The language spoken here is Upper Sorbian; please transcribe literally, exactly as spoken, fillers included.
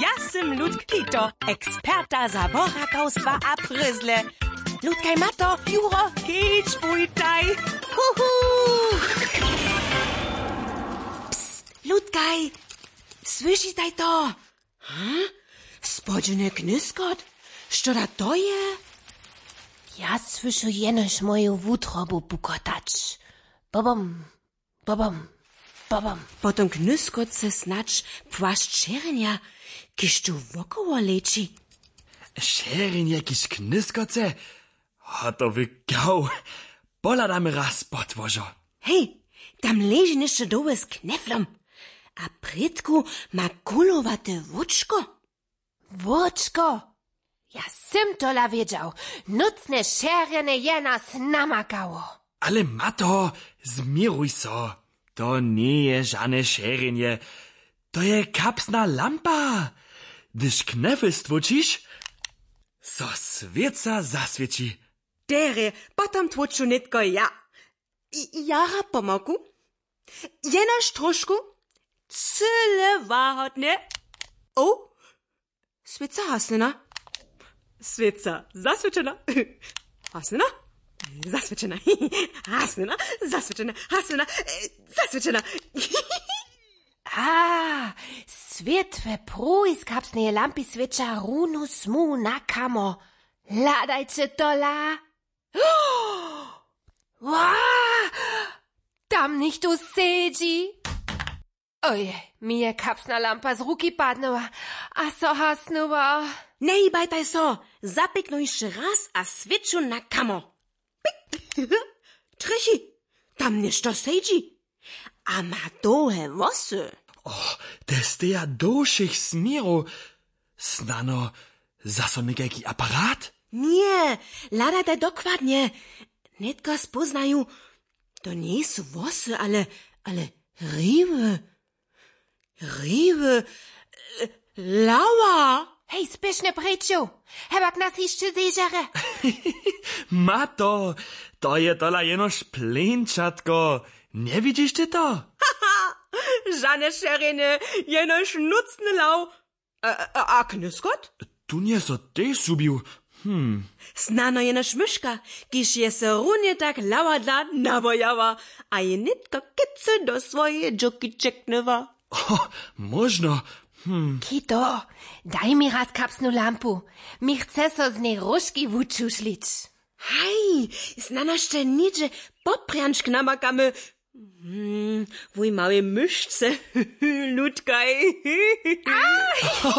Ja sym Ludk Kito, eksperta za borakawstwa a pryzle. Ludkaj, Mato, Juro, kedźbujtaj. Huhu. Psst, Ludkaj, słyšitaj to? Hm? Spodźeny knyskot? Što da to je? Ja słyšu jenož moju wutrobu pukotać. Bobom, bobom, bobom. Po tym knyskotce snadź płašć šerjenja, kiž tu wokoło leći. Šerjenje kiž knyskotce? Hotowy gał. Pohladamy raz pod łožo. Hej, tam leži něšto dołho z kneflom. A prědku ma kulowate wóčko. Wóčko? Ja sym tola wědźał. Nótne šerjenje je nas namakało. Ale Mato, změruj so. To njeje žane šerjenje. To je kapsna lampa. Hdyž knefel stłóčiš, so swěca zaswěći. Derje, potom tłóču nětko ja. I- jara pomałku. Jenož trošku. Cyle łahodnje. O, swěca hasnjena. Swěca zaswěćena. Hasnjena. Zaswěćena. Hasnjena. Zaswěćena. Hasnjena. E, zaswěćena. A, swětłe pruhi z kapsneje lampy swěća runu smu na kamo. Hladajće tola. Wa! Tam něchtó sedźi. Oj, mi je kapsna lampa z ruki padnyła a so hasnyła. Njehibajtaj so. Zapěknu hišće raz a swěću na kamo. Pik. Trjechi. Tam něšto sedźi. A ma dołhe włosy. O, te steja do wšěch směrow. Snano zaso někajki aparat? Ně, hladajtaj dokładnje. Nětko spóznaju. To njejsu włosy, ale, ale hriwy. Hriwy. E, hlawa. Hej, spěšnje prěču. Hewak nas hišće zežere. Mato, to je tola jenož pleńčatko. Njewidźiš ty to? Žane šerjenje, jenož nótny hlaw. A, a, a knyskot? Tu nje so tež zhubił. Hm. Snano jenož myška, kiž je so runje tak hlawadla nawojała, a je nětko kecy do swojeje dźoki ćeknyła. O, móžno. Hm. Kito, daj mi raz kapsnu lampu. Mi chce so z njej róžki wučušlić. Haj, snano sće něhdźe poprjančk namakamy. Hmm, wuj małej myšce. Ludkaj.